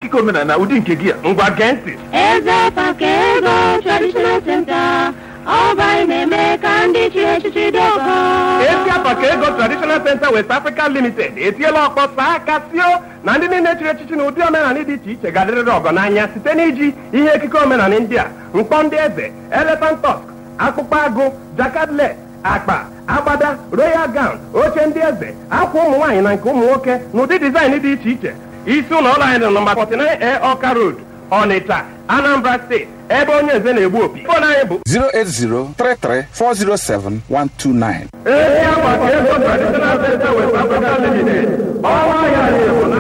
Ekike omenala ụdị nke gị a? Ngwa, gee ntị. Eze Pakego Traditional Center, Ọba na-eme ka ndị chiri echichi dị ọgọ. Esi Apaka Ego Traditional Center West Africa Limited etiela ọkpọ saa aka tio na ndị niile chiri echichi na ụdị omenala dị iche iche ga-adịrịrị ọgọ n'anya site n'iji ihe ekike omenala ndị a: mkpọ ndị eze, elephant tusk, akpụkpọ agụ, jakadlet, akpa, agbada, royal gown, oche ndị eze, akwa ụmụ nwaanyị na nke ụmụ nwoke, na ụdị design dị iche iche. Isi ụlọ ọrụ anyị dị nọmba 49 A Ọka Road, Ọnịcha, Anambra Steeti, ebe onye eze na-egbu opi. Fon anyị bụ 08033407129. Ezi Apaka Ego Traditional Center West Africa Limited. Ọwa ya na-ebu na